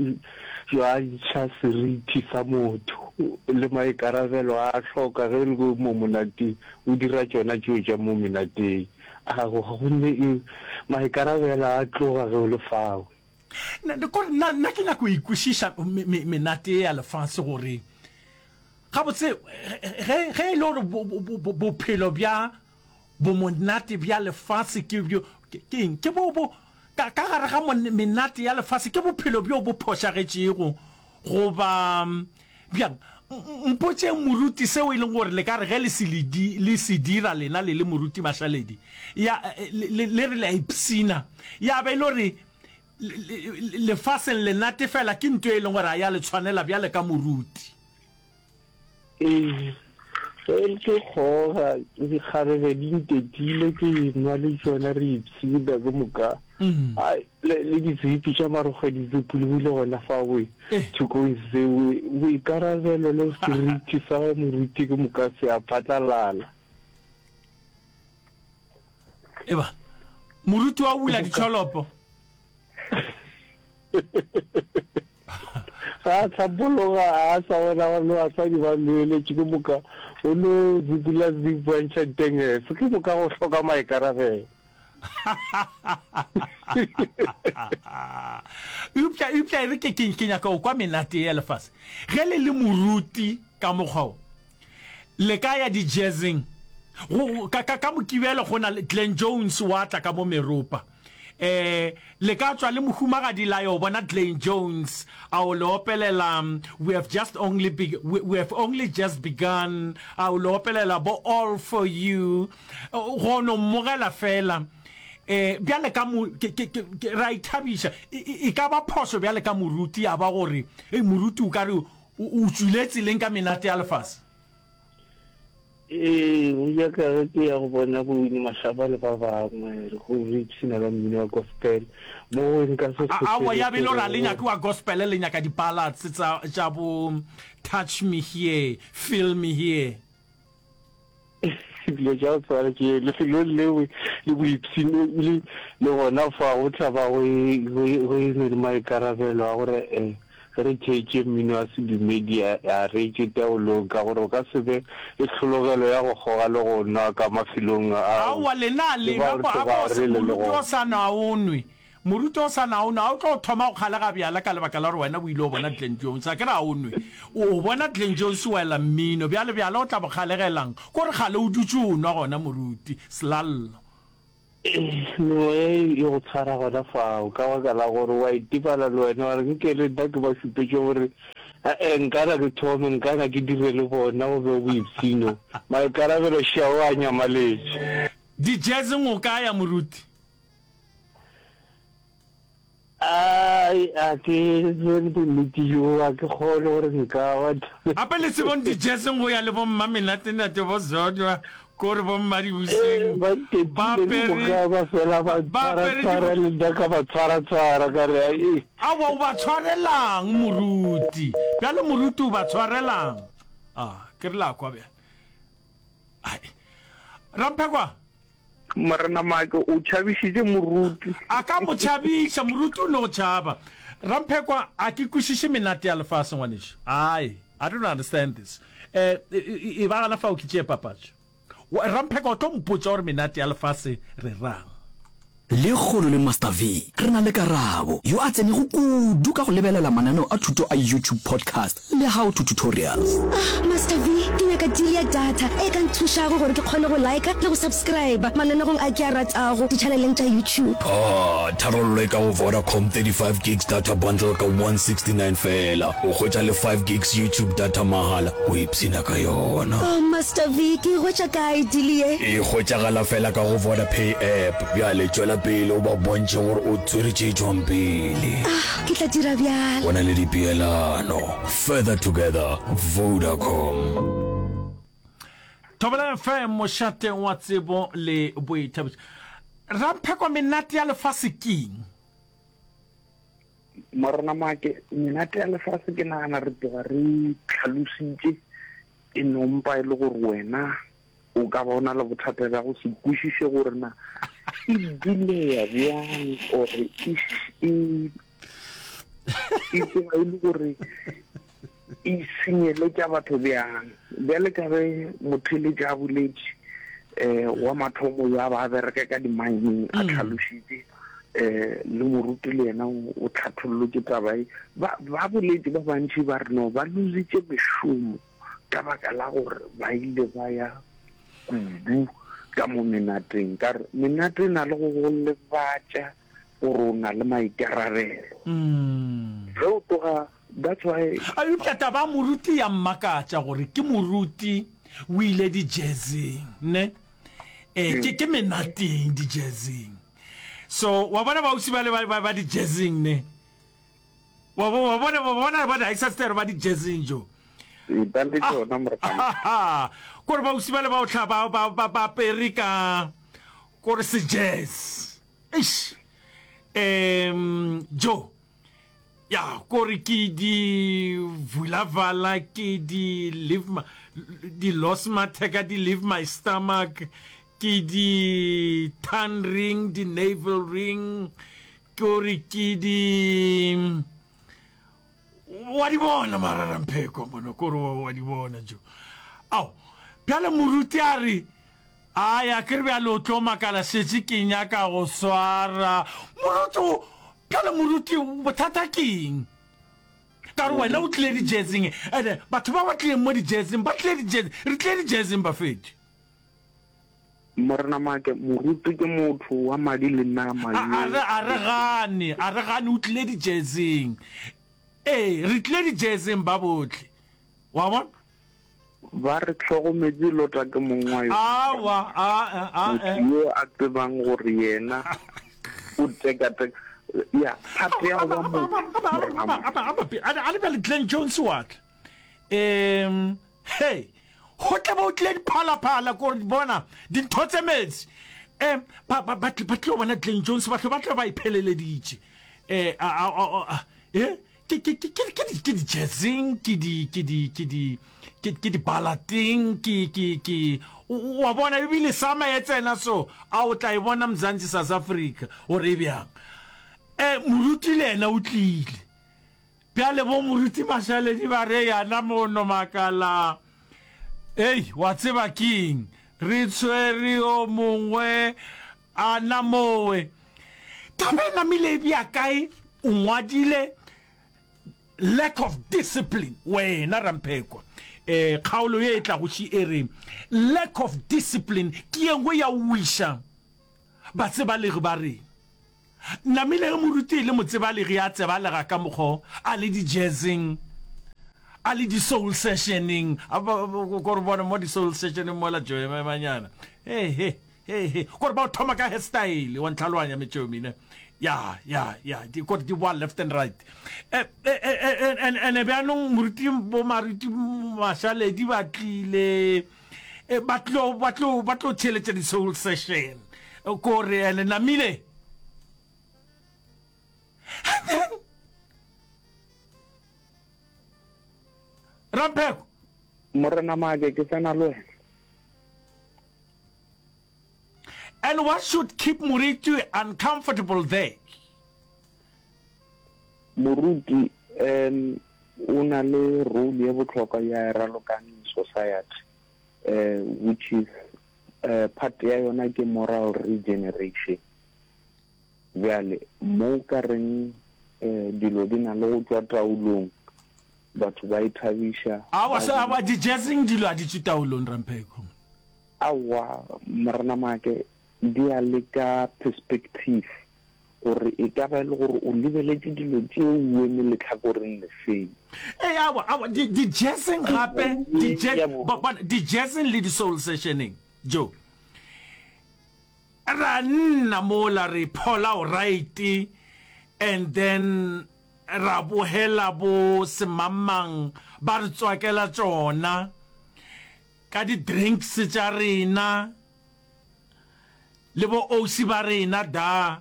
Speaker 2: bja ntšha seriti sa motho le maikarabelo a a hloka ge o le mo monateng, o dira tšona tšeo tša mo menateng. Aowa, gomme e, maikarabelo a tloga ge o le fao.
Speaker 1: Nna, kore nna, nna ke nyaka go ikwešiša me, me, menate ye ya lefase gore Gabotse, ge, ge e le gore bo, bo, bo, bophelo bja bomonate bja lefase ke bjo, Ke eng? Ke bo, bo, ka, ka gare ga menate ya lefase, ke bophelo bjo bo phošagetšego, goba bjang? Mpotšeng moruti seo e leng gore le ka re ge le se le di, le se dira lena le le moruti Mašaledi, ya, le, le re le a ipshina, ya ba e le gore lefaseng le natefela ke nto e leng gore a ya le tshwanela bjale ka moruti.
Speaker 7: Ee, ge ke kgoga dikgarebe di ntetile ke nwa le tšona re ipshina ke moka. Mm. Ai, le, le ditsipi tša marokgwe di tsupologile gona fa we eh. thokong seo boikarabelo le seriti sa moruti ke moka se a phatlalala.
Speaker 1: Eba moruti wa bula ditšholopo.
Speaker 7: Ga a hlapologa, a sa bona gore le basadi ba lebeletše, ke moka o no zipula zip wa ntšha ditengese, ke moka go hloka maikarabelo.
Speaker 1: Eupša, eupša e re ke, ke, ke nyaka go kwa menate ye ya lefase. Ge le le moruti ka mokgwa wo, Le ka ya di-jazzing. Go, ka, ka, ka Mokibelo go na le Glen Jones wa tla ka mo meropa. Eh, le ka tšwa le mohumagadi la yo bona Glen Jones a o le opelela We have just only be, we, we have only just begun, a o le opelela bo All for You. Go no mmogela fela. Eh, bjale ka mo, ke, ke, ke, ke, re a ithabiša. E, e, e ka ba phošo bjale ka moruti ya ba gore, hei, moruti o ka re O, o tšwile tseleng ka menate ya lefase.
Speaker 7: Ee, go ja ka ge ke ya go bona bo Winnie Mashaba le ba bangwe go re ipshina ka mmino wa gospel mo go nka se
Speaker 1: Aowa, ya be e le gore a le nyake wa gospel, le nyaka di-ballads tsa, tša bo Touch Me Here, Feel Me Here.
Speaker 7: Dilo tša go tshwana tše lefelong leo le boipshino le le gona fa go tla ba go e, go e, go e ne le maikarabelo a gore um ge re theetše mmino wa sedumedi a, a re tšwe taolong ka gore o ka se be le tlhologelo ya go kgoga le go nwa ka mafelong ao
Speaker 1: Aowa, lena
Speaker 7: le
Speaker 1: le
Speaker 7: bao
Speaker 1: nwa
Speaker 7: re
Speaker 1: a
Speaker 7: tloga
Speaker 1: bo
Speaker 7: re le le
Speaker 1: moruti o
Speaker 7: gona.
Speaker 1: sa nwa o nwe. Moruti o sa na o nwe, a o tlo thoma go kgalega bjala ka lebaka la gore wena o ile o bona Glen Jones? A ke re a o nwe. O bona Glen Jones o ela mmino, bjale bjala o tla bo kgalegelang? Ko re kgale o dutše o nwa gona moruti, Selallo.
Speaker 7: Meoya e e go tshwara gona fao ka baka la gore wa itebala le wena wa re nke le nna ke ba šupetše gore e-e nkana ke thome nkana ke dire le bona go be boipshino. Maikarabelo šao a nyamaletše.
Speaker 1: Di-jazzing o ka ya moruti?
Speaker 7: Ai, a ke tsebe bonnete bjo, a ke kgone gore nka ba.
Speaker 1: Gape le tsebong di-jazzing go ya le bo mma menatenate bo Zodwa, ko re bo mma dibuseng,
Speaker 7: Ba
Speaker 1: ba
Speaker 7: ntetile ke
Speaker 1: apere,
Speaker 7: moka ba fela ba
Speaker 1: ba apere
Speaker 7: tshwara-tshwara
Speaker 1: di.
Speaker 7: le nna ka ba tshwara-tshwara ka re ai.
Speaker 1: Aowa o ba tshwarelang moruti? Bjale moruti o ba tshwarelang? Ah, ke re la kwa bjale. Ai. Ramphekwa.
Speaker 2: Morena Maake o tšhabišitše moruti.
Speaker 1: A ka mo tšhabiša, moruti o no tšhaba. Ramphekwa, a ke kwešiše menate ya lefase, ngwanešu. Ai, I don't understand this. Eh, e ba gana fao ke tšee papatšo. Ramphekwa, o tlo mpotša gore menate ya lefase re rang.
Speaker 3: Lekgono le Master V re na le Karabo, yo a tsenego kudu ka go lebelela mananeo a thuto a YouTube podcast le How to Tutorials.
Speaker 4: Ah, Master V, ke nyaka deal ya data e ka nthušago gore ke kgone go liker le go subscriber mananegong a ke a ratago ditšhaneleng tša YouTube.
Speaker 3: Ah, tharollo e ka go Vodacom 35 gigs data bundle ka 169 feela. O hwetša le 5 gigs YouTube data mahala o ipshina ka yona.
Speaker 4: Oh, Master V, ke e hwetša kae deal ye?
Speaker 3: E hwetšagala feela ka go Vodapay app. Bjale tšwela pele o ba bontšhe gore o tswere tše tšwang pele.
Speaker 4: Ah, ke tla dira bjalo.
Speaker 3: Go na le dipeelano. Further together, Vodacom.
Speaker 1: Thobela FM, mošate wa tsebo le boithabišo. Rampheko, menate ya lefase keng?
Speaker 2: Morena Maake, menate ya lefase ke nagana re tloga re tlhalositše e no mpa e le gore wena o ka ba o na le bothata bja go se kwešiše gore na e buleya bjang or e e e tloga e le gore e senyeletša batho bjang. Bjale ka ge motheeletši a boletše um wa mathomo yo a ba a bereka ka di-mining a hlalošitše um le moruti le yena o hlathollotše taba e. Ba ba boletše ba bantši ba re no ba lositše mešomo ka baka la gore ba ile ba ya kudu. Ka mo menateng, ka re menate e na le go go lebatša gore o na le maikarabelo. Ge o tloga, that's why.
Speaker 1: A Eupša taba ya moruti ya mmakatša gore ke moruti o ile di-jazzing, ne? Eh, ke, ke menateng di-jazzing. So, wa bona baausi bale ba, ba, ba di-jazzing, ne? Wa, wa, wa bona, wa bona ba di-ancestor ba di-jazzing jo.
Speaker 2: Ee, ba le tšona, morena.
Speaker 1: Kore baausi bale ba o hla ba, ba, ba, ba apere ka, kore se-jazz. Eish. Um, jo. Ya, kore ke di vulavala, ke di leave my, di lost matheka, di leave my stomach, ke di tan ring, di navel ring, kore ke di wa di bona mararampheko mono, kore wa di bona jo. Ao, bjale moruti a re, Ai, a ke re bjale o tlo makala šetše ke nyaka go swara. Moruti o, bjale moruti bothata ke eng? Ka gore wena o tlile di-jazzing, ene batho ba ba tlileng mo di-jazzing ba tlile di-jazzing, re tlile di-jazzing bafetši.
Speaker 2: Morena Make, moruti ke motho wa madi le nama
Speaker 1: A, a re, a re gane, a re gane o tlile di-jazzing. Ee, re tlile di-jazzing ba bohle. Wa bona?
Speaker 2: Ba re hlogometše Lota ke mong wa yona.
Speaker 1: Aowa, a, a,
Speaker 2: Motho yo a tsebang gore yena o tekateka, ya, thato ya go ba motho, Morena Mo.
Speaker 1: A le bjale Glen Jones wa tla. Um, hei, go tla be o tlile diphalaphala, ko re bona dintho tse metsi. Um, ba, ba, ba, ba tlilo bona Glen Jones, batho ba tla ba ipheleleditše. Eh, a, a, a, a, eh, Ke, ke, ke, ke, ke di, ke di-jazzing, ke di, ke di, ke di, ke, ke di-ballading, ke, ke, ke, o, o a bona, ebile sama e tsena so, a o tla e bona Mzansi South Africa, gore e bjang. Eh, moruti le yena o tlile. Bjale bo moruti Mašaledi ba re yana mono makala, Ei, wa tseba keng, re tshwere yo mongwe A na mowe taba e namile e bea kae? O ngwadile lack of discipline wena Ramphekwa. Eh, kgaolo ye e tlago ši e re lack of discipline ke ye nngwe ya wiša batsebalegi ba rena. Namile ge moruti e le motsebalegi a tsebalega ka mokgo a le di-jazzing, a le di-soul sessioneng, ko re bone mo di-soul sessioneng mola joememanyana. He he. He, he, kore ba o thoma ka hairstyle, wa ntlhaloganya metšomi, ne? Ya, ya, ya, di, kore di boa left and right. Eh, eh, eh, eh, and, and bjanong moruti, bo maruti Mašaledi ba tlile, eh, ba tlo, ba tlo, ba tlo theeletša di-soul session. Kore, and namile. And then, Rampheko.
Speaker 2: Morena Maake, ke tsena le wena.
Speaker 1: And what should keep Moruti uncomfortable there?
Speaker 2: Moruti um o na le role ye bohlokwa ya e ralokang in society uh, which is uh, part ya yona ke moral regeneration. Bjale mo ka reng uh, dilo di na le go tšwa taolong batho ba ithabiša.
Speaker 1: Awa, awa di-jazzing dilo a di tšwe taolong Rampheko.
Speaker 2: Aowa, Morena Maake, di ya le ka perspective gore e ka ba e le gore o lebeletše dilo tšeo o eme lehlakoreng lefeng.
Speaker 1: Ee, aowa, aowa, di, di-jazzing gape, di, bona, di-jazzing le di-soul sessioneng, Joe. Ra nna mola re phola alright, and then ra bogela bo semangmang ba re tswakela tšona. Ka di drinks tša rena le bo ausi ba rena da.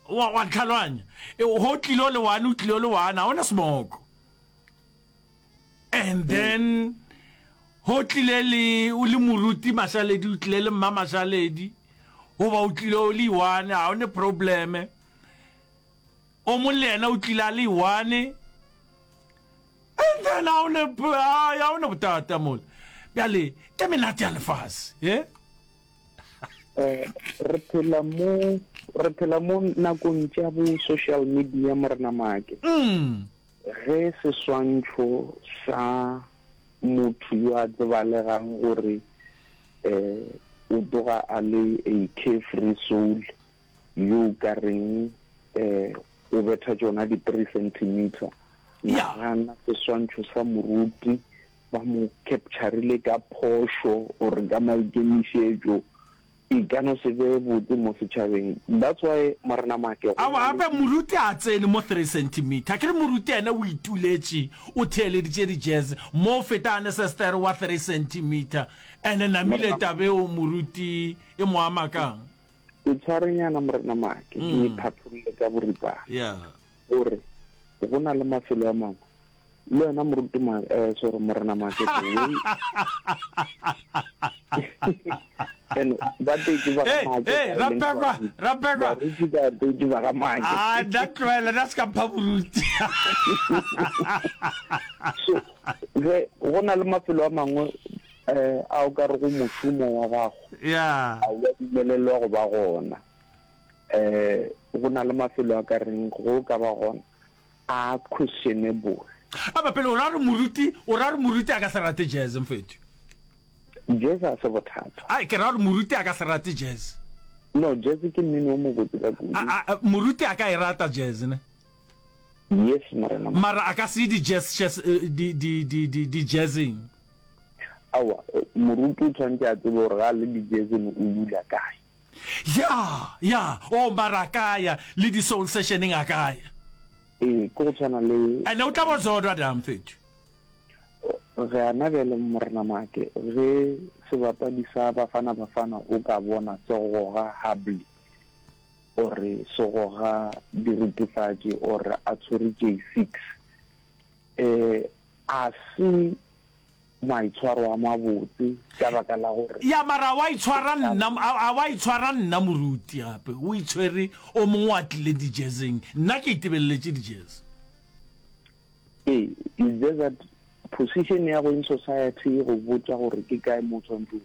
Speaker 1: Wa wa ntlhaloganya? E, ho tlile o le one, o tlile o le one, ha ona smoko. And then ho tlile le o le moruti Mašaledi, o tlile le mma Mašaledi, goba o tlile o le one, ha one probleme. O mong le yena o tlile a le one. And then ha o ne ha o ne bothata mola. Bjale ke menate ya lefase, ye?
Speaker 2: Eh, re phela mo re phela mo nakong tša bo social media morena Maake.
Speaker 1: Mm.
Speaker 2: Ge seswantšho sa motho yo a tsebalegang gore eh. o tloga a le a carefree soul yo o ka reng um o betha tšona di-three centimeter.
Speaker 1: Ya.
Speaker 2: Nagana seswantšho sa moruti ba mo capturile ka phošo or ka maikemišetšo, e ka no se be botse mo setšhabeng. That's why Morena Make go
Speaker 1: Aowa
Speaker 2: na le.
Speaker 1: gape moruti a tsene mo three centimeter. Akere moruti yena o ituletše o theeleditše di jazz mo o feta anesestere wa three centimeter. Ene namile
Speaker 2: Morena
Speaker 1: tabeo moruti e mo ama kang?
Speaker 2: Ke tshwarenyana Morena Make ke e phatholle ka boripana.
Speaker 1: Yeah.
Speaker 2: Gore go na le mafelo a mangwe le wena moruti ma eh, sorry Morena Make the way and ba tetse ba ga
Speaker 1: Hey,
Speaker 2: Make
Speaker 1: hey,
Speaker 2: ba e leng
Speaker 1: Rapekwa,
Speaker 2: baruti.
Speaker 1: Rapekwa.
Speaker 2: Baruti ba tetse ba ga Make.
Speaker 1: Ah, nna tlohela, nna se ka mpha boruti.
Speaker 2: So ge go na le mafelo a mangwe eh, a o ka rego mošomo wa gago
Speaker 1: Yeah.
Speaker 2: a wa dumelelwa go ba gona. Eh, go na le mafelo a ka reng go ka ba gona a questionable.
Speaker 1: Aba pele o ra re moruti, o ra re moruti a ka se rate jazz mfethu.
Speaker 2: Jazz ga se bothata.
Speaker 1: Ai ke ra gore moruti a ka se rate jazz.
Speaker 2: No, jazz ke mmino o mobotse ka kudu.
Speaker 1: A, a, moruti a ka e rata jazz ne?
Speaker 2: Yes, morena.
Speaker 1: Mara a ka se ye di jazz, jazz, eh, di, di, di, di, di jazzing.
Speaker 2: Aowa, moruti o tshwanetse a tsebe gore ga a le di jazzing o dula kae.
Speaker 1: Ya, ya, oh, mara a ka ya, le di soul sessioneng a ka ya.
Speaker 2: Ee, ke go tshwana le.
Speaker 1: Ene o tla bo zodwa da mfethu.
Speaker 2: Gana bjale Morena Make, ge sebapadi sa Bafana Bafana o ka bona se goga hubbly or se goga diritifatši or a tshwere J6, eh, a se maitshwaro a mabotse ka baka la gore.
Speaker 1: Ya, mara a wa itshwara nna, a, a wa itshwara nna moruti gape, o itshwere o mongwe wa tlile di-jazzing, nna ke itebeleletše di-jazz.
Speaker 2: Ee, it's just that position ya go in society e go botša gore ke kae mo o tshwanetseng.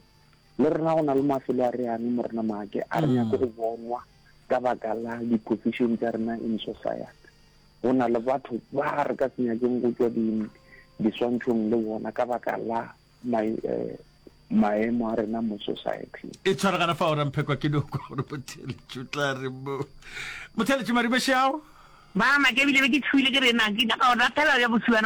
Speaker 2: Le rena go na le mafelo a re yang Morena Maake, a re nyake go bonwa ka baka la di-position tša rena in society. Go na le batho ba re ka se nyakeng go tšwa di, diswantšhong le bona ka baka la mai, eh, maemo a rena mo society.
Speaker 1: E tshwaragana fa o ramphekwa ke no kwa gore motheeletši o tla re mo. Motheeletši Maribe Šeao.
Speaker 8: Ba make ebile be ke tšhogile ke re na ke nyaka go rapela bja bosula na.